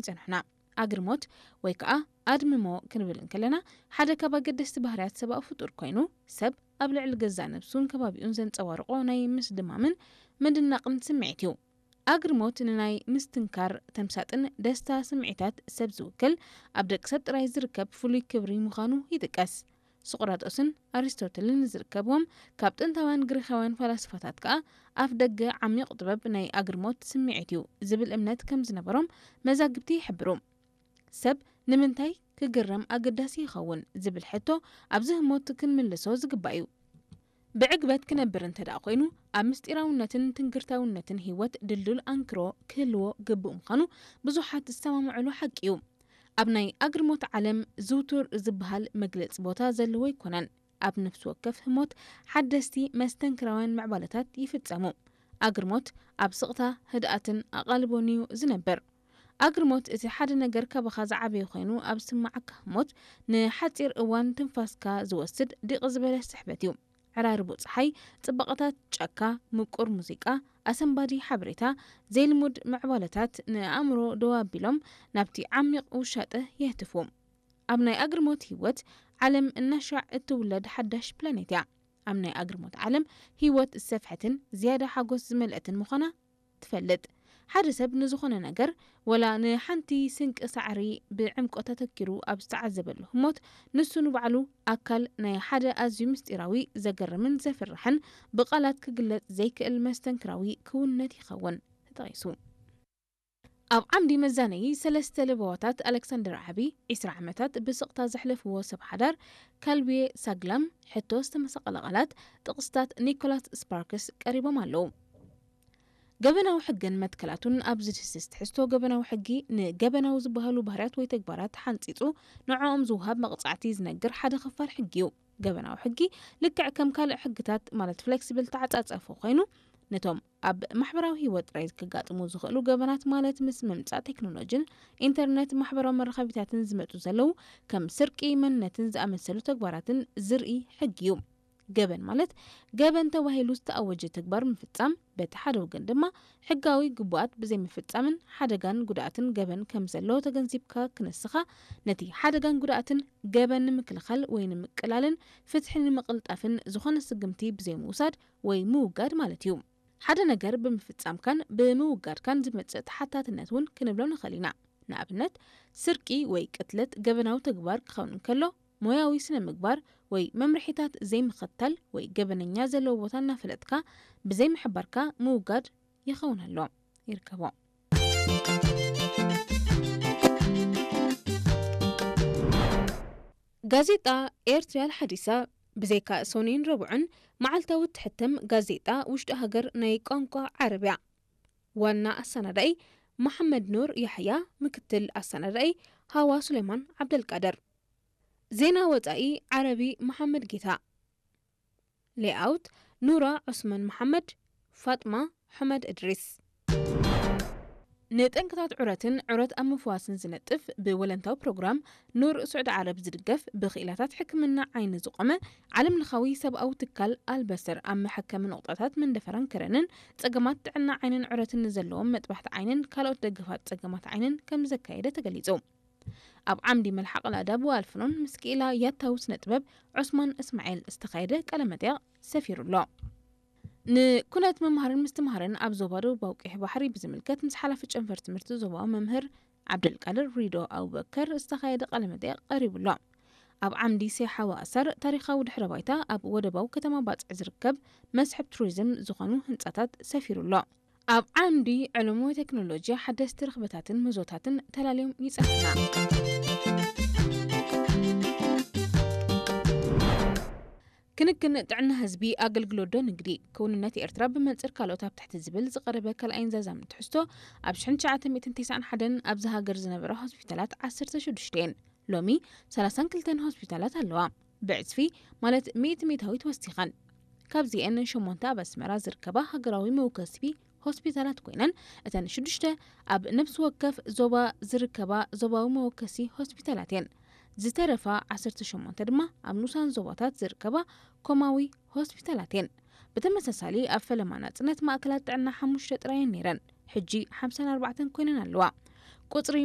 ይጸንሑና። ኣግርሞት ወይ ከኣ ኣድምሞ ክንብል እንከለና፣ ሓደ ካብ ኣገደስቲ ባህርያት ሰብኣዊ ፍጡር ኮይኑ፣ ሰብ ኣብ ልዕሊ ገዛእ ነብሱን ከባቢኡን ዘንጸባርቖ ናይ ምስድማምን ምድናቕን ስምዒት እዩ። ኣግርሞት ንናይ ምስትንካር፣ ተምሳጥን ደስታ ስምዒታት ሰብ ዝውክል፣ ኣብ ደቂ ሰብ ጥራይ ዝርከብ ፍሉይ ክብሪ ምዃኑ ይጥቀስ። ሶቅራጦስን ኣሪስቶትልን ዝርከብዎም ካብ ጥንታውያን ግሪኻውያን ፈላስፋታት ከኣ፣ ኣፍ ደገ ዓሚቕ ጥበብ ናይ ኣግርሞት ስምዒት እዩ ዝብል እምነት ከም ዝነበሮም መዛግብቲ ይሕብሩ። ሰብ ንምንታይ ክግረም ኣገዳሲ ይኸውን ዝብል ሕቶ ኣብዚ ህሞት ክንምልሶ ዝግባእ እዩ። ብዕግበት ክነብር እንተ ደኣ ኮይኑ፣ ኣብ ምስጢራውነትን ትንግርታውነትን ህይወት ድልዱል ኣንክሮ ክህልዎ ግቡእ ምዃኑ ብዙሓት ዝሰማምዑሉ ሓቂ እዩ። ኣብ ናይ ኣግርሞት ዓለም ዝውቱር ዝበሃል መግለጺ ቦታ ዘለዎ ኣይኮነን። ኣብ ነፍሲ ወከፍ ህሞት ሓደስቲ መስተንክራውያን ምዕባለታት ይፍጸሙ። ኣግርሞት ኣብ ስቕታ፣ ህድኣትን ኣቓልቦን እዩ ዝነብር። ኣግርሞት እቲ ሓደ ነገር ካባኻ ዝዓበየ ኮይኑ ኣብ ዝስምዓካ ህሞት፣ ንሓጺር እዋን ትንፋስካ ዝወስድ ዲቕ ዝበለ ስሕበት እዩ። ዕራርቦ ጸሓይ፣ ጽባቐታት ጫካ፣ ምቁር ሙዚቃ፣ ኣሰንባዲ ሓበሬታ፣ ዘይልሙድ ምዕባለታት ንኣእምሮ ደው ኣቢሎም ናብቲ ዓሚቕ ውሻጠ የህትፉ። ኣብ ናይ ኣግርሞት ህይወት፣ ዓለም እናሻዕ እትውለድ ሓዳሽ ፕላኔት እያ። ኣብ ናይ ኣግርሞት ዓለም፣ ህይወት ዝሰፍሐትን ዝያዳ ሓጎስ ዝመልአትን ምዃና ትፈልጥ። ሓደ ሰብ ንዝኾነ ነገር፣ ወላ ንሓንቲ ስንቂ ሳዕሪ ብዕምቆት ኣተኪሩ ኣብ ዝተዓዘበሉ ህሞት፣ ንሱ ንባዕሉ ኣካል ናይ ሓደ ኣዝዩ ምስጢራዊ፣ ዘገርምን ዘፍርሕን፣ ብቓላት ክግለጽ ዘይክእል መስተንክራዊ ክውንነት ይኸውን። ተጠቒሱ። ኣብ ዓምዲ መዛነዪ ሰለስተ ለበዋታት ኣሌክሳንደር ዓቢ፣ ዕስራ ዓመታት ብስቕታ ዘሕለፍዎ ሰብ ሓዳር ካልቢየ ሳግላም፣ ሕቶ ዝተመሳቐለ ቃላት፣ ጥቕስታት ኒኮላስ ስፓርክስ ቀሪቦም ኣለዉ። ገበናዊ ሕግን መትከላቱን። ኣብዚ ድህስስ ትሕዝቶ ገበናዊ ሕጊ፣ ንገበናዊ ዝበሃሉ ባህርያት ወይ ተግባራት ሓንጺጹ ንዕኦም ዝወሃብ መቕጻዕቲ ዝነግር ሓደ ክፋል ሕጊ እዩ። ገበናዊ ሕጊ ልክዕ ከም ካልእ ሕግታት፣ ማለት ፍሌክሲብል ተዓጻጸፎ ኮይኑ፣ ነቶም ኣብ ማሕበራዊ ህይወት ጥራይ ከጋጥሙ ዝኽእሉ ገበናት፣ ማለት ምስ ምምጻእ ቴክኖሎጂን ኢንተርነት ማሕበራዊ መራኸቢታትን ዝመጹ ዘለዉ፣ ከም ስርቂ መንነትን ዝኣመሰሉ ተግባራትን ዝርኢ ሕጊ እዩ። ገበን ማለት ገበን ተባሂሉ ዝተኣወጀ ተግባር ምፍጻም፣ በቲ ሓደ ወገን ድማ ሕጋዊ ግቡኣት ብዘይምፍጻምን ሓደጋን ጉድኣትን ገበን ከም ዘሎ ተገንዚብካ፣ ክንስኻ ነቲ ሓደጋን ጉድኣትን ገበን ንምክልኻል ወይ ንምቅላልን ፍትሒ ንምቕልጣፍን ዝኾነ ስጉምቲ ብዘይምውሳድ ወይ ምውጋድ ማለት እዩ። ሓደ ነገር ብምፍጻምካን ብምውጋድካን ዝመጽእ ተሓታትነት እውን ክንብሎ ንኽእል ኢና። ንኣብነት፣ ስርቂ ወይ ቅትለት ገበናዊ ተግባር ክኸውን እንከሎ፣ ሞያዊ ስነ ምግባር ወይ መምርሒታት ዘይምኽታል ወይ ገበነኛ ዘለዎ ቦታ እናፈለጥካ ብዘይምሕባርካ ምውጋድ ይኸውን ኣሎ። ይርከቦ። ጋዜጣ ኤርትርያ ሓዲሳ፣ ብዘይካ ሰኑይን ረቡዕን፣ መዓልታዊ እትሕተም ጋዜጣ ውሽጢ ሃገር ናይ ቋንቋ ዓረብ እያ። ዋና ኣሰናዳኢ መሓመድ ኑር ያሕያ፣ ምክትል ኣሰናዳኢ ሃዋ ሱሌማን ዓብደልቃድር። ዜና ወጻኢ ዓረቢ መሓመድ ጌታ። ሌኣውት ኑራ ዑስማን መሓመድ፣ ፋጥማ ሑመድ እድሪስ። ንጠንቅታት ዑረትን ዑረት ኣብ ምፍዋስን ዝነጥፍ ብወለንታዊ ፕሮግራም ኑር ስዑዲ ዓረብ ዝድገፍ ብክኢላታት ሕክምና ዓይኒ ዝቖመ ዓለም ለኻዊ ሰብኣዊ ትካል ኣልበሰር ኣብ መሐከሚ ነቑጣታት መንደፈራን ከረንን ጸገማት ጥዕና ዓይንን ዑረትን ንዘለዎም መጥባሕቲ ዓይንን ካልኦት ደገፋት ጸገማት ዓይንን ከም ዘካየደ ተገሊጹ። ኣብ ዓምዲ መልሓቕ ላዳብ ወኣልፍኖን ምስ ክኢላ ያታዊ ስነ ጥበብ ዑስማን እስማኤል ዝተኻየደ ቃለ መጠይቕ ሰፊሩ ኣሎ። ንኩነት ምምሃርን ምስትምሃርን ኣብ ዞባ ደቡባዊ ቀይሕ ባሕሪ ብዝምልከት ምስ ሓላፊ ጨንፈር ትምህርቲ ዞባዊ መምህር ዓብደልቃድር ሪዶ ኣቡበከር ዝተኻየደ ቃለ መጠይቕ ቀሪቡ ኣሎ። ኣብ ዓምዲ ሴሓ ወኣሰር ታሪኻዊ ድሕረ ባይታ ኣብ ወደባዊ ከተማ ባጽዕ ዝርከብ መስሕብ ቱሪዝም ዝኾኑ ህንጻታት ሰፊሩ ኣሎ። ኣብ ዓምዲ ዕልሞ ቴክኖሎጂ ሓደስቲ ርኽበታትን ምህዞታትን ተላልዮም ይጸንሑና። ክንክን ጥዕና ህዝቢ ኣገልግሎት ዶ ንግዲ? ክውንነት ኤርትራ ብመንጽር ካልኦት ኣብ ትሕቲ ዝብል ዝቐረበ ካልኣይን ዛዛምን ትሕዝቶ፣ ኣብ ሽሕን ትሽዓተ ሚእትን ተስዓን ሓደን ኣብዚ ሃገር ዝነበራ ሆስፒታላት ዓሰርተ ሽዱሽተ እየን። ሎሚ ሰላሳን ክልተን ሆስፒታላት ኣለዋ። ብዕጽፊ፣ ማለት ሚእቲ ሚእታዊት ወሲኸን። ካብዚኤን ሸሞንተ ኣብ ኣስመራ ዝርከባ ሃገራዊ መወከሲ ሆስፒታላት ኮይነን፣ እተን ሽዱሽተ ኣብ ነፍሲ ወከፍ ዞባ ዝርከባ ዞባዊ መወከሲ ሆስፒታላት እየን። ዝተረፋ ዓሰርተ ሸሞንተ ድማ ኣብ ንኡሳን ዞባታት ዝርከባ ኮማዊ ሆስፒታላት እየን። ብተመሳሳሊ፣ ኣብ ፈለማ ናጽነት ማእከላት ጥዕና ሓሙሽተ ጥራይ እየን ነይረን። ሕጂ ሓምሳን ኣርባዕተን ኮይነን ኣለዋ። ቁጽሪ